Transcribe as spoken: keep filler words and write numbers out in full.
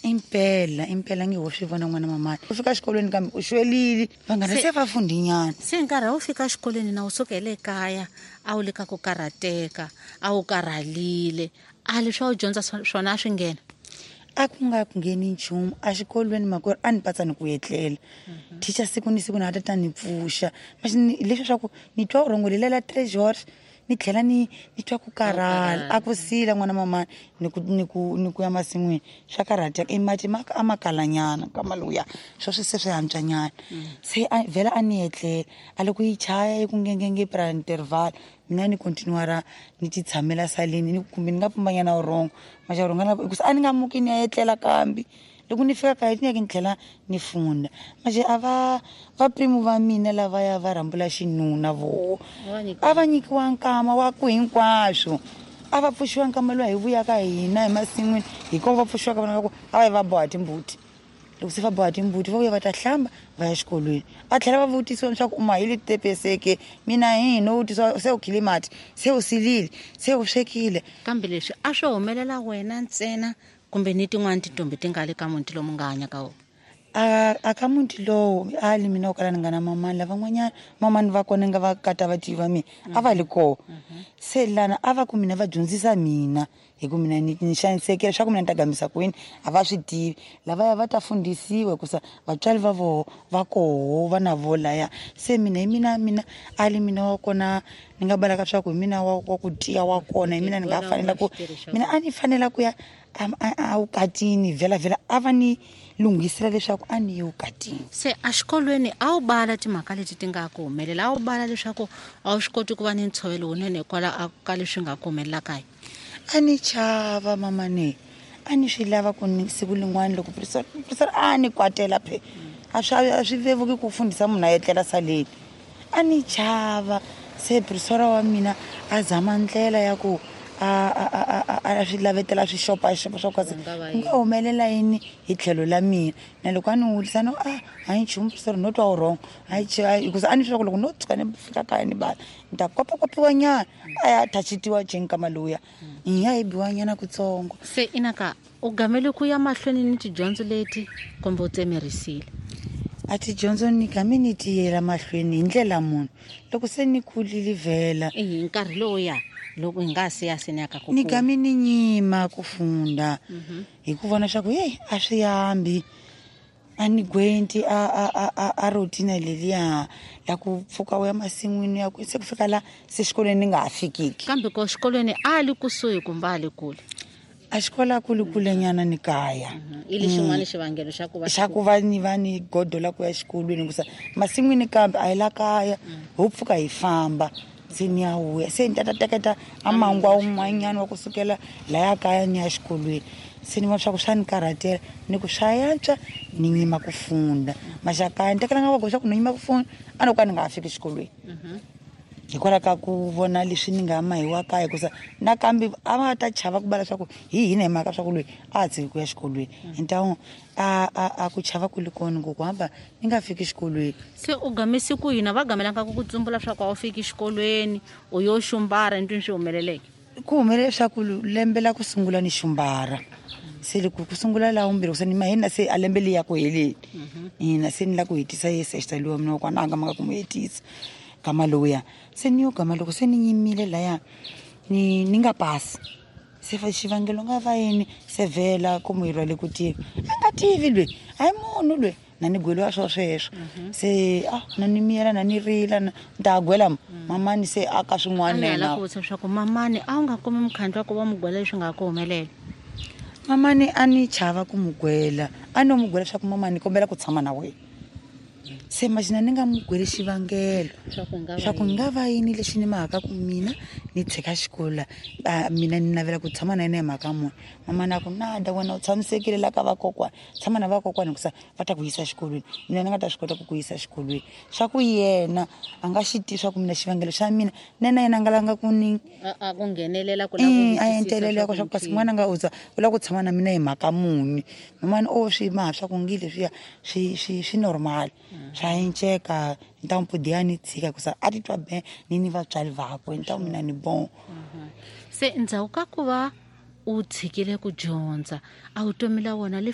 Impela impela ngi ho swi vona n'wana mamani u fika xikolweni kambe u xwelile vanghana se va fundinyana. Se nkarhi a wu fika xikolweni na u sukele ekaya a wu le ka ku karhateka a wu karhalile a leswi a wu dyondza swona a swi nghena? A ku nga ngheni nchumu a xikolweni makwerhu a ni patsa ni ku etlela. Teacher siku ni siku na ta ta ni pfuxa leswi swa ku ni twa vurhongo lela treasure ni tlhela ni ni twa ku karhala a ku sila n'wana mamani ni ku ni ku ni ku ya masin'wini swa karhateka i mati ma a ma kalanyana ka maluya swo swi se swi antswanyana. Se a vhela a ni etlela a loko yi chaya yi ku ngengenge pra interval mina ni continue ra ni ti tshamela saleni ni kumbe ni nga pumbanyana vurhongo maxa rhonga hikusa a ni nga muki ni ya etlela kambe loko ni fika kaya ni ya ni tlhela ni funda. Manje a va vaprimu va mina lavaya va rhambula xinuna voho a va nyikiwa nkama wa ku hinkwaswo a va pfuxiwa nkama lowu hi vuyaka hina hi masin'wini hikuva va pfuxiwaka vana va ku a va yi va boha timbuti. Loko se va boha timbuti va vuya va ta hlamba va ya xikolweni a tlhela va vutisiwa leswaku u mahile titepeseke mina hi no vutisiwa se u khile mati se u silile se u swekile. Kambe leswi a swi humelela wena ntsena kumbe ni tin'wana tintombi ti nga le ka muti lomu nga hanya ka wona? A a ka muti lowu a li mina u kala ni nga na mamani lavan'wanyana mamani va kona nga va kata va tiva mina a va li koho. Se lana a va ku mina va dyondzisa mina hi ku mina ni ni xanisekile swa ku mina ni ta gambisa kwini a va swi tivi lavaya va ta fundisiwa hikusa vatswari va voho va koho va na vo laya. Se mina hi mina mina a li mina wa kona ni nga balaka swa ku hi mina wa wa ku tiya wa kona hi mina ni nga fanela ku mina a ni fanela ku ya a vukatini vhela vhela a va ni lunghisela leswaku a ni ye vukatini. Se exikolweni a wu bala timhaka leti ti nga ku humelela a wu bala leswaku a wu swi koti ku va ni ntshovelo wunene hikwalaho ka leswi nga ku humelela kaya? A ni chava mamane a ni swi lava ku ni siku lin'wana loko professor a ni kwatela phe a swi a swi vevuki ku fundisa munhu a etlela saleni a ni chava. Se professor wa mina a zama ndlela ya ku a a a a swi lavetela swi xopaxopa swa kasi ku nga humelela yini hi tlhelo la mina na loko a ni wulisa no a a yi nchumu professor no twa wrong a yi hikusa a ni swi ku loko no tshuka ni fika kaya ni bala ni ta kopakopiwa nyana a ya thachitiwa jenkama lowuya hi ya hi biwa nyana kutsongo. Se inaka u gamele ku ya mahlweni ni tidyondzo leti kumbe u tsemerisile? A tidyondzo ni game ni tiyela mahlweni hi ndlela munhu loko se ni kulile vhela hi nkarhi lowuya loko hi nga se ya se ni ya ka ku ni game ni nyima ku funda hi ku vona swa ku hey a swi hambi a ni gwenti a a a a routine leliya la ku pfuka u ya masin'wini ya ku se ku fika la se xikolweni ni nga ha fikiki. Kambe ko xikolweni a li kusuhi kumbe a li kule? A xikolo a ku li kulenyana ni kaya. I le xin'wana xivangelo xa ku va xa ku va ni va ni godo la ku ya xikolweni hikusa masin'wini kambe a hi la kaya ho pfuka hi famba se ni ya vuya se ni ta ta teketa a mangwa wun'wanyana wa kusukela laya kaya ni ya xikolweni. Se ni vona swa ku swa ni karhatela ni ku swa yantswa ni nyima ku funda maxakaya ni tekela nga va swa ku ni nyima ku funda a no ka ni nga ha fiki xikolweni hikwalaho ka ku vona leswi ni nga mahiwa kaya hikusa nakambe a va ta chava ku bala swa ku hi hina hi mhaka swa ku loyi a ha tshiki ku ya xikolweni hi ntawu a a a ku chava ku li kona ku hamba ni nga fiki xikolweni. Se u gamise ku yini va gamelanga ku ku tsumbula swa ku a wu fiki xikolweni u yo xumbara ndlwini swi humeleleke? Ku humelele swa ku lembe la ku sungula ni xumbara se loko ku sungula la vumbirhi ku se ni mahina se a lembe liya ku heleni ina se ni la ku hetisa yesexta luwa mina wa kona a nga maka ku mu hetisa gama lowuya. Se ni yo gama loko se ni nyimile laya ni ni nga pasi se fa xivangelo nga va yini se vhela ku mu rhwale ku tiva a nga tivi lweyi a hi munhu lweyi na ni gweliwa swo sweswo se a na ni miyela na ni rila ni ta gwela mamani se a ka swin'wana na yena ku vutisa leswaku mamani a wu nga kumi mukhandlu wa ku va mu gwela leswi nga ku humelela? Mamani a ni chava ku mu gwela a no mu gwela leswaku mamani ni kombela ku tshama na wena. Se imagine ni nga mu gweli xivangelo swa ku nga va yini lexi ni mhaka ku mina ni tshika xikolo mina ni navela ku tshama na yena hi mhaka muni. Mamani a ku nada wena u tshamisekile la ka vakokwana tshama na vakokwana hikusa va ta ku yisa xikolweni mina ni nga ta swi kota ku ku yisa xikolweni. Swa ku yena a nga xi tivi swa ku mina xivangelo xa mina na yena yena a nga langa ku ni a ku nghenelela ku lava a entelela ku swa ku kasi n'wana nga u za u lava ku tshama na mina hi mhaka muni. Mamani o swi maha swa ku ngi leswiya swi swi swi normal swa enceka ni ta mpudi ya ni tshika hikusa a titwa be ni ni vatswari vakwe ni ta mina ni bon. Se ndzhaku ka ku va u tshikile ku dyondza a vutomi la wona li